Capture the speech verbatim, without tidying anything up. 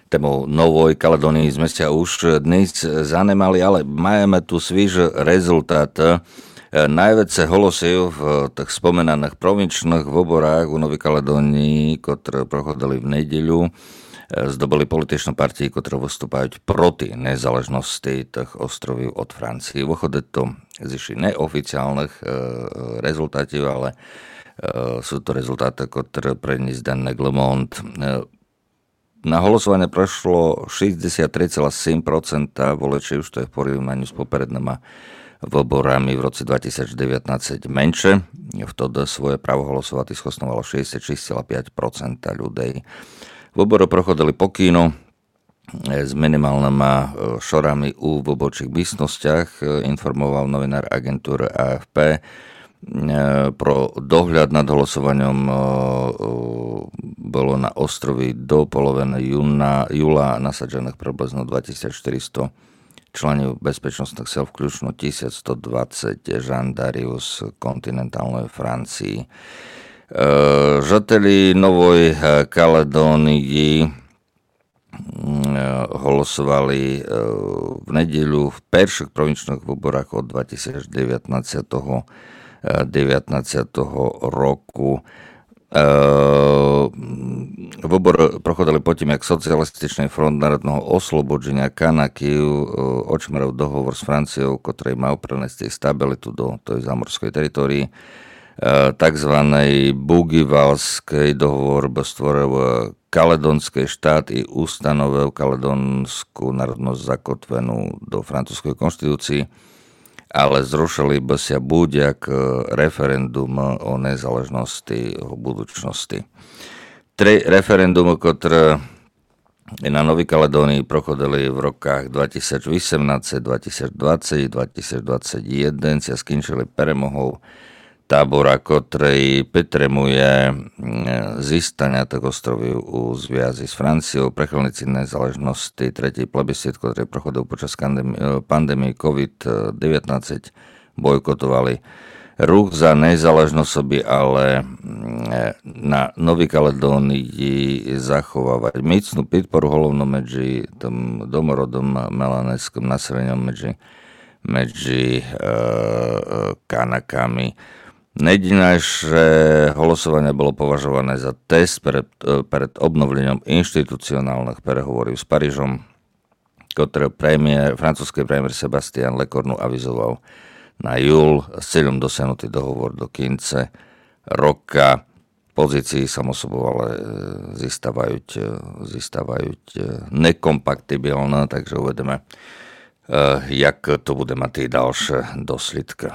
Тему Новой Каледонії зме ся уж днесь занимали, але маєме ту свіжы резултат. Е, найвеце голосів в тых споминаных провінчных выборах у Новій Каледонії, котры проходили в неділю, е, здобыли політичны партії, котры выступають проти незалежности тых островів од Франції. Выходить то з іщи неофіціалных, е, резултатів, але, е, суть то резултаты, котры принїс денник Le Monde. Е, На голосованє пришло шістдесят три цілых сім процента воличів, што є в порівнаню з попередныма выборами в році два тисячі девятнадцять менше. Втоды своє право голосовати схосновало шістдесят шість цілых пять процента людей. Выборы проходили покійно, е, з мінімалныма, е, шорами у выборчых містностях, е, інформовав новінар агентуры А Ф П. Е, про догляд над голосованьом, е, е, было на острові до половины юна, юла насадженых приблизно два тисячі штыристо членів безпечносных сил, включно тисяч сто двадцять жандарів з континенталної Франції. Е, жителі Нової, е, Каледонії, м, е, голосовали, е, в неділю в першых провінчных выборах од два тисячі девятнадцятого, е, девятнадцятого року. Е, м, выборы проходили потім, як Соціалістичный фронт народного ослободженя Канаків, е, очмерив договор з Францією, котрый мав принести стабіліту до тої заморської території. Е, так званый Буґівалськый договор бы створив, е, каледонськый штат і установив каледонську народность закотвену до французької конституції, але зрушили бы ся будь-як, е, референдум о незалежности, о будучности. Три референдумы, котры на Новій Каледонії проходили в роках два тисячі вісемнадцять, два тисячі двадцять і два тисячі двадцять єден, ся скінчили перемогов табора, котрый підтримує, м, зістаня тых островів у звязі з Францією. Прихильниці незалежности, третій плебісцит, котрый проходив під час кандем-, е, пандемії ковід девятнадцять, бойкотовали рух за незалежность собі, але, м, е, на Новій Каледонії заховавають міцну підпору, головно меджі тым домородным меланезькым населеньом, меджі, меджі, е, е, Канаками. Не єдине, же голосованє было поважованє за тест перед, е, перед обновленьом інституціоналных переговорів з Парижом, котры премєр, французькый премєр Себастьян Лекорну авізовав на юл з цільом досягнути договор до кінця рока. Позиції, само собов, але, е, зіставають, е, зіставають, е, некомпатибілны, так же увидиме, е, як то буде мати дальше дослідкы.